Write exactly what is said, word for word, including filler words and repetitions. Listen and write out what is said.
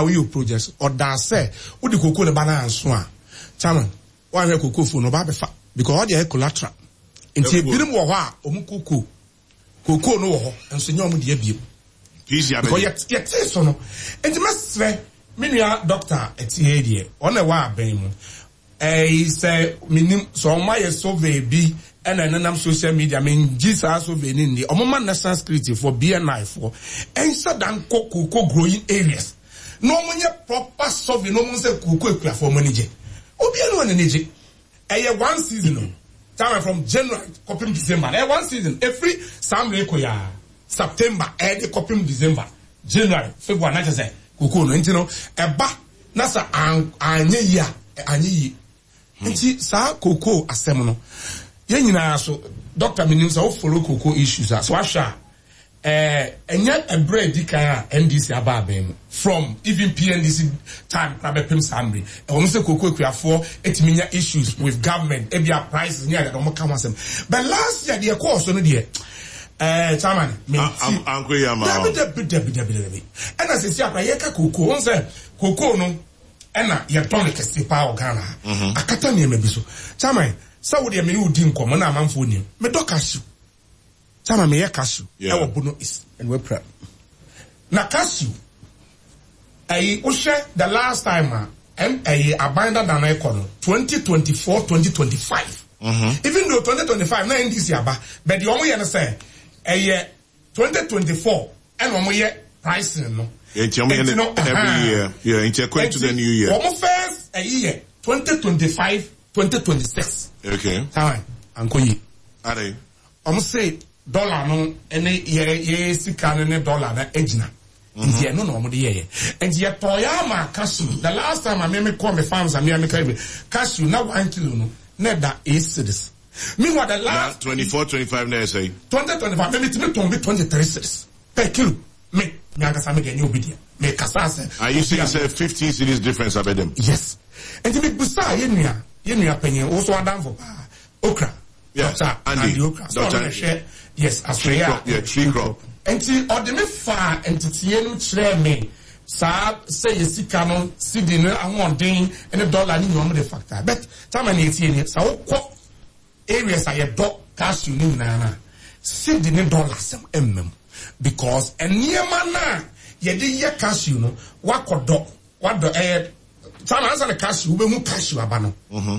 Woyɛ project ɔda sɛ wode koko ne ba no anso a, chairman, woahwɛ koko fo no, ɔba bɛfa because ɔde ayɛ collateral. Nti ebinom wɔ hɔ a ɔmo koko koko no wɔ hɔ nso nyɛ ɔmo deɛ biem because yɛte so no. Nti mɛsrɛ me nua doctor ɛtie deɛ ɔna ɛwɔ abɛn mu ɛyi sɛ minim sɛ ɔmo ayɛ survey bi ɛna ɛnenam social media. Mengye saa survey ne nni. Ɔmo ma National Security foɔ, B N I foɔ, ɛnhyɛ da nkɔ cocoa growing areas na ɔmo nyɛ proper survey na ɔmo sɛ cocoa ekuafoɔ ɔmo ani gye. Obiara no wɔn ani gye. Ɛyɛ one season o, time from January kɔpem December. Ɛyɛ one season efiri saa mmerɛ kɔ yaa September ɛde kɔpem December, January, February na kyerɛ sɛ cocoa no nti no ɛba na sɛ anyɛ yie a, anyɛ yie. Nti saa cocoa asɛm no, yɛn nyinaa so, doctor, minim sɛ wo follow cocoa issues a, so ahwɛ a, ɛɛ ɛnyɛ ɛbrɛ edi kan a N D C aba abɛn mu, from even P N D C time kora bɛpem saa mmiri ɛwɔ mo sɛ cocoa akuafoɔ etumi nya issues with government, ebi a prices ne adeɛ ɔmo ka ho asɛm. But last year deɛ kɔɔ so no deɛ, ɛɛ chairman, mi ti anko yi ama. Dabi, dabi, dabi, dabi, dabi. Ɛna sisi akora yɛka cocoa wɔn sɛ cocoa no ɛna yɛtɔn no kɛse paa wɔ Ghana ha. Akata nneɛma bi so. Chairman, sɛ wo deɛ me ne wo di nkɔmɔ na amanfoɔ nim medɔ cashew. Chairman, meyɛ cashew ɛwɔ Bono East. And wepra. Na cashew ɛyi, wohwɛ the last time a ɛm ɛyi aban dada no ɛkɔ no, twenty twenty four, twenty twenty five, even though twenty twenty five na N D C aba, but deɛ wɔn yɛ no sɛ ɛyɛ twenty twenty four ɛna wɔn yɛ pricing no. Nti ɔmo yɛ no every year. Yeah, nti ɛkɔ into the new year. Wɔn first ɛyi yɛ twenty twenty five, twenty twenty six. Okay. Time ankɔ yie. Ade. Wɔn se dollar no ɛne yɛ yɛ sika no ne dollar no egyina. Nti ɛno na wɔn de yɛyɛ. Nti yɛtɔ yɛ ama cashew. The last time a mímí kɔ mi farms a mímí ka bi cashew na one kilo no na ɛda eight cedis. Meanwhile, the Na last twenty four, twenty five na ɛsɛ. twenty twenty five mímí tìmí tɔn bi twenty three cedis per kilo. Mi mi ankasa mi deɛ nye obi deɛ mi kasa asɛ. Are you saying say fifteen cedis difference abɛdɛm? Yes, nti mi busa yɛ nua yɛ nua panyin woso adamfo paa okra. Yes, Doctor Andy. Andy Okra so Doctor ɔno na hwɛ, yes, asɔre a Yeah, tree crop. Nti ɔde me fa nteteɛ no kyerɛ me saa sɛ yɛ sika no, cedi no ahoɔden ne dollar ne nyinaa de factor. But tama ne etie ni sɛ wokɔ areas a yɛdɔ cashew ne nyinaa na cedi ne dollar sɛm ɛmma mu because nneɛma no a yɛde yɛ cashew no wakɔdɔ wadɔ ɛyɛ tama ansa na cashew wobɛhu cashew aba no.